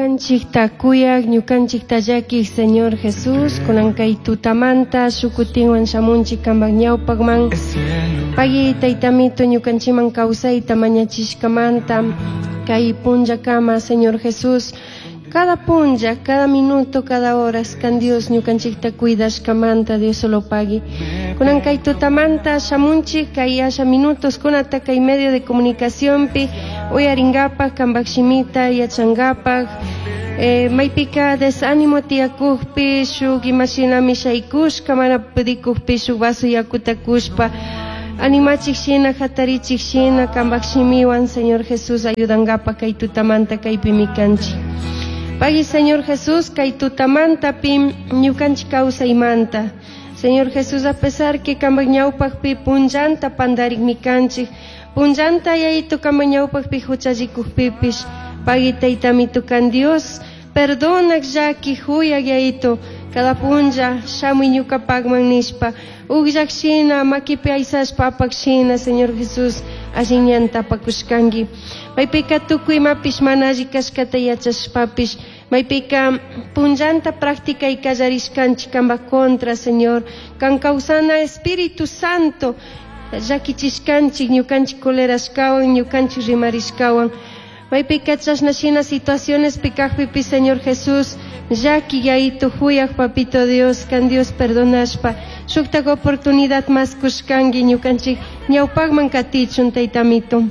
Ñukanchikta kuyaq, ñukanchikta llakiq Señor Jesús, kunan kay tutamanta shukutinwan shamunchik kanpak ñawpakman. Pagui taytamito ñukanchikman kawsayta mañachishkamanta kay punllakama Señor Jesús, cada punlla, cada minuto, cada horas kan Dios ñukanchikta cuidashkamanta Dios solo pagui. Kunan kay tutamanta shamunchik kay asha minutos kunata kay medio de comunicacionpi uyarinkapak kanpak shimita yachankapak maypika desánimo tiyakukpi shuk imashinami shaykushka mana pudikukpi shuk vaso yakuta kushpa animachik shina hatarichik shina kanpak shimiwan Señor Jesús ayudankapak kay tutamanta kaypimi kanchik. Pagui Señor Jesús kay tutamantapi ñukanchik kawsaymanta. Señor Jesús, a pesar que kanpak ñawpakpi punllanta pandarikmi kanchik, punllanta yayito kanpak ñawpakpi huchallikukpipish, pagui taytamito kan Dios, perdonak llaki huyak yayito, cada punlla shamuy ñukapakman nishpa, ukllak shina makipi aysashpa apak shina, Señor Jesús, allin ñanta apakushkanki. Maypika tukuy imapish mana alli kashkata yachashpapish, maypika punllanta práctica y kallarishkanchik kanpak contra, Señor, kan kawsana Espíritu Santo, llakichishkanchik ñukanchik colerashkawan, ñukanchik rimarishkawan. Maypika chashna shina situaciones kakpipi, Señor Jesús, llaki yayito huyak papito Dios, kan Dios perdonashpa, shuktak oportunidad mas kushkanki ñukanchik ñawpakman katichun taytamito.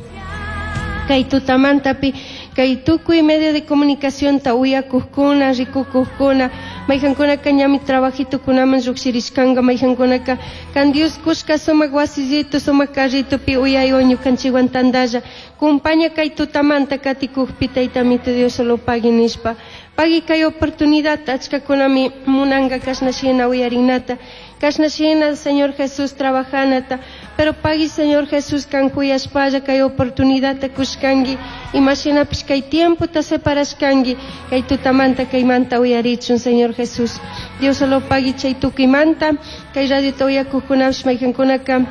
Kay tutamantapi, kay tukuy medio de comunicación ta uyakukkuna, rikukukkuna, mayjankunaka ñami trabajitukunaman llukshirishkanka, mayjankunaka kan Dios kushka sumak wasillito, sumak carritopi uyaywan ñukanchikwan tantalla, kumpaña kay tutamanta katikukpi taytamito Dios solo pagui nishpa. Pagui kay oportunidad achkakunami munanka kashna shina uyarinata, kashna shina Señor Jesús trabajanata, pero pagui Señor Jesús kan huyashpalla kay oportunidadta kushkanki, imashinapish kay tiempota separashkanki, kay tutamanta kaymanta uyarichun Señor Jesús. Dios solo pagui chay tukuymanta, kay radiota uyakuqkunapish mayjankunaka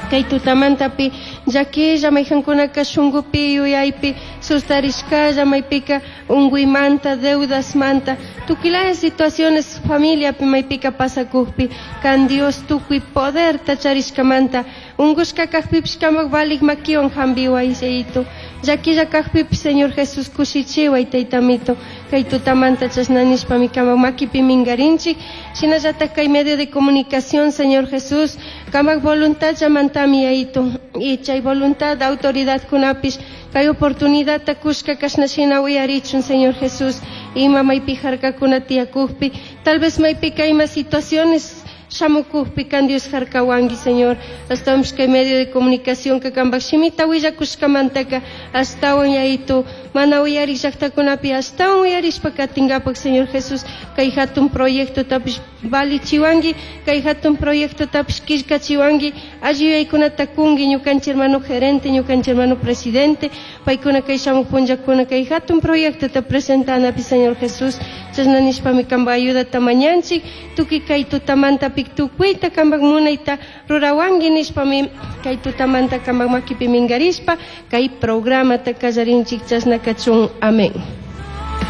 kay tutamantapi llakilla mayjankunaka shunkupi yuyaypi sustarishkalla maypika unkuymanta deudasmanta tukuylaya situaciones familiapi maypika pasakukpi kan Dios tukuy poderta charishkamanta unkushka kakpipish kanpak valik makiwan hampiway Yayito llakilla kakpipish Señor Jesús kushichiway taytamito kay tutamanta chashna nishpami kanpak makipi minkarinchik shinallatak kay medio de comunicación Señor Jesús kanpak voluntad llamantami Yayito y chay voluntad autoridad kunapish kay oportunidadta kushka kashna shina uyarichun Señor Jesús ima maypi harkakuna tiyakukpi tal vez maypika ima situaciones shamukukpi kan Dios harkawanki Señor ashtawanpish kay medio de comunicación ka kanpak shimita willakushkamantaka ashtawan Yayito mana uyarik llaktakunapi ashtawan uyarishpa katinkapak Señor Jesús kay hatun proyectotapish valichiwanki kay hatun proyectotapish killkachiwanki alli yuyaykunata kunki ñukanchik hermano gerente ñukanchik hermano presidente paykuna kay shamuk punllakuna kay hatun proyectota presentanapi Señor Jesús chashna nishpami kanpak ayudata mañanchik tukuy kay tutamanta tukuyta kanpak munayta rurawanki nishpami kay tutamanta kanpak makipi minkarishpa kay programata kallarinchik chashna kachun. Amén.